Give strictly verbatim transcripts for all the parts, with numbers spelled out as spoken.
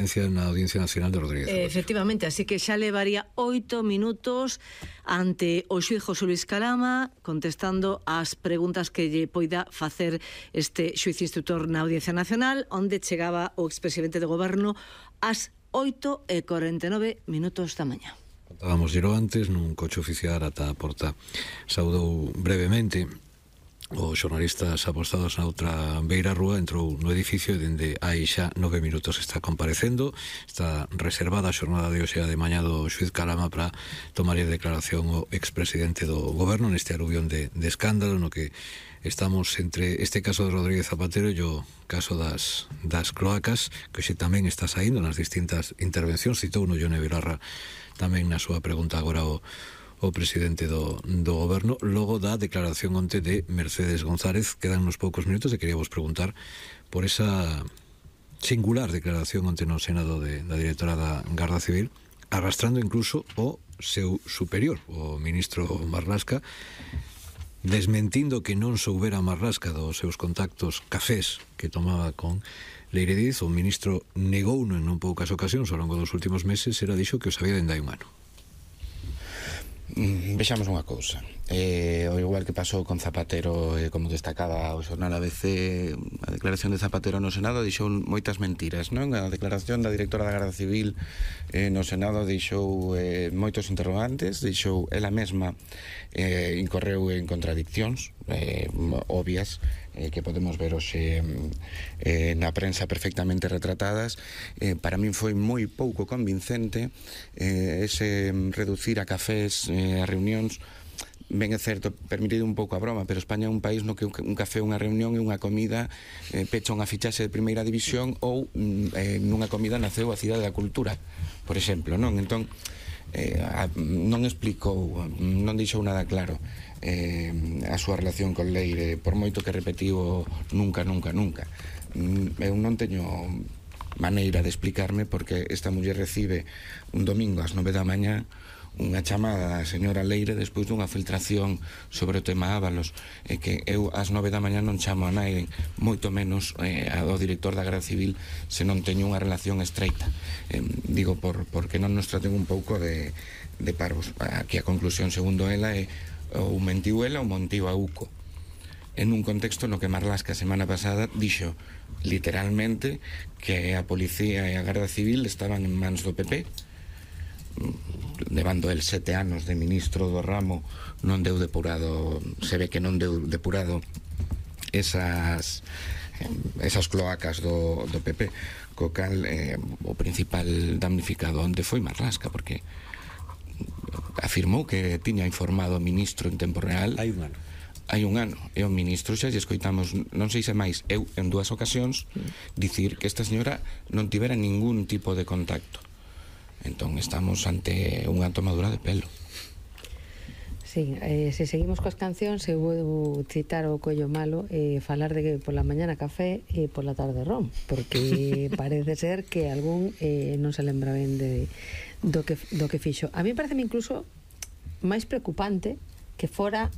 na Audiencia Nacional de Rodríguez Zapatero. Efectivamente, así que xa levaría oito minutos ante o xuíz José Luis Calama contestando ás preguntas que lle poida facer este xuíz instructor na Audiencia Nacional, onde chegaba o expresidente do goberno ás oito e cuarenta e nove minutos da mañá. Contábamos xero antes nun coche oficial ata a porta. Saudou brevemente os xornalistas apostados na outra beira rúa, entrou no edificio e dende hai xa nove minutos está comparecendo. Está reservada a xornada de hoxe de mañá do xuíz Calama para tomar a declaración o expresidente do goberno neste aluvión de, de escándalo no que estamos entre este caso de Rodríguez Zapatero e o caso das, das cloacas, que hoxe tamén está saindo nas distintas intervencións. Citou no Ione Belarra tamén na súa pregunta agora o o presidente do, do goberno, logo da declaración onte de Mercedes González. Quedan uns poucos minutos e queríamos preguntar por esa singular declaración onte no Senado de, da directora da Garda Civil, arrastrando incluso o seu superior, o ministro Marlasca, desmentindo que non soubera Marlasca dos seus contactos cafés que tomaba con Leire Díez. O ministro negouno en non poucas ocasións ao longo dos últimos meses, era dixo que o sabía dende hai un ano. Vexamos unha cousa, eh, o igual que pasou con Zapatero, eh, como destacaba o xornal A B C, a declaración de Zapatero no Senado dixou moitas mentiras, non? A declaración da directora da Garda Civil eh, no Senado dixou eh, moitos interrogantes, dixou ela mesma eh, incorreu en contradiccións eh, obvias, eh, que podemos ver hoxe eh, na prensa perfectamente retratadas. Eh, para min foi moi pouco convincente eh, ese reducir a cafés eh, a reunións. Ben é certo, permitido un pouco a broma, pero España é un país no que un café, unha reunión e unha comida eh, pecha unha fichaxe de primeira división, ou eh, nunha comida naceu a Cidade da Cultura, por exemplo, non? Entón, eh, a, non explicou, non dixou nada claro eh, a súa relación con Leire, por moito que repetiu nunca, nunca, nunca. Eu non teño maneira de explicarme porque esta muller recibe un domingo ás nove da mañá unha chamada da señora Leire despois dunha filtración sobre o tema Ábalos, e que eu ás nove da mañá non chamo a nai, moito menos eh, ao director da Garda Civil, se non teño unha relación estreita. Eh, digo, por, porque non nos traten un pouco de, de parvos. Aquí a conclusión, segundo ela, é ou mentiu ela ou mentiu a Uco, en un contexto no que Marlasca a semana pasada dixo literalmente que a policía e a Garda Civil estaban en mans do P P, levando el sete anos de ministro do ramo. Non deu depurado, se ve que non deu depurado esas esas cloacas do, do P P, co cal eh, o principal damnificado onde foi Marlasca, porque afirmou que tiña informado o ministro en tempo real hai un ano hai un ano, e o ministro xa lle escoitamos, non sei se máis, eu en dúas ocasións dicir que esta señora non tivera ningún tipo de contacto. Entón estamos ante unha tomadura de pelo. Sí, eh, se seguimos coas cancións, eu vou citar o Collo Malo e eh, falar de que pola mañana café e pola tarde rom, porque parece ser que algún eh, non se lembra ben de, do, que, do que fixo. A mí parece incluso máis preocupante que fora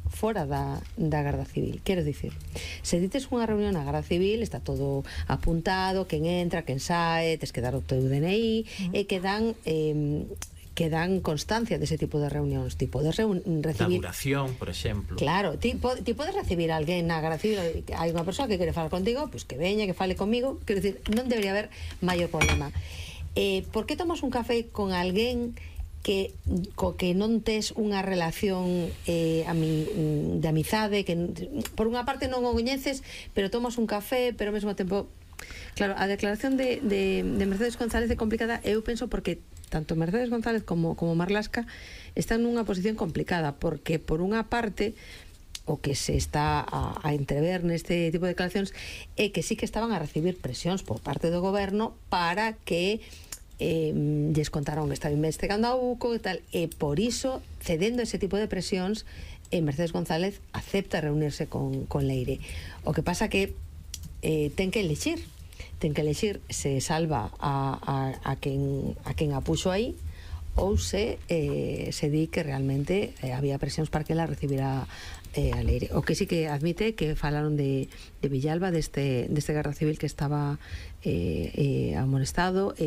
fora da, da Garda Civil. Quero dicir, se dites unha reunión na Garda Civil, está todo apuntado, quen entra, quen sae, tes que dar o teu D N I, uh-huh. e que dan eh, que dan constancia dese tipo de reunións, tipo de reun recibir... Da duración, por exemplo. Claro, ti, po, ti podes recibir a alguén na Garda Civil, hai unha persoa que quere falar contigo, pois pues que veña, que fale comigo, quero dicir, non debería haber maior problema. Eh, por que tomas un café con alguén que co que non tes unha relación eh, ami, de amizade, que por unha parte non o coñeces, pero tomas un café, pero ao mesmo tempo... Claro, a declaración de, de, de Mercedes González é complicada, eu penso, porque tanto Mercedes González como, como Marlasca están nunha posición complicada, porque por unha parte o que se está a, a entrever neste tipo de declaracións é que sí que estaban a recibir presións por parte do goberno para que eh, lles contaron que estaba investigando a Uco e tal, e por iso, cedendo ese tipo de presións, eh, Mercedes González acepta reunirse con, con Leire. O que pasa que eh, ten que elixir ten que elixir se salva a, a, a quen a quen a puxo aí, ou se eh, se di que realmente eh, había presións para que ela recibira eh, a Leire. O que sí que admite que falaron de, de Villalba, deste, deste Garda Civil que estaba eh, eh, amonestado,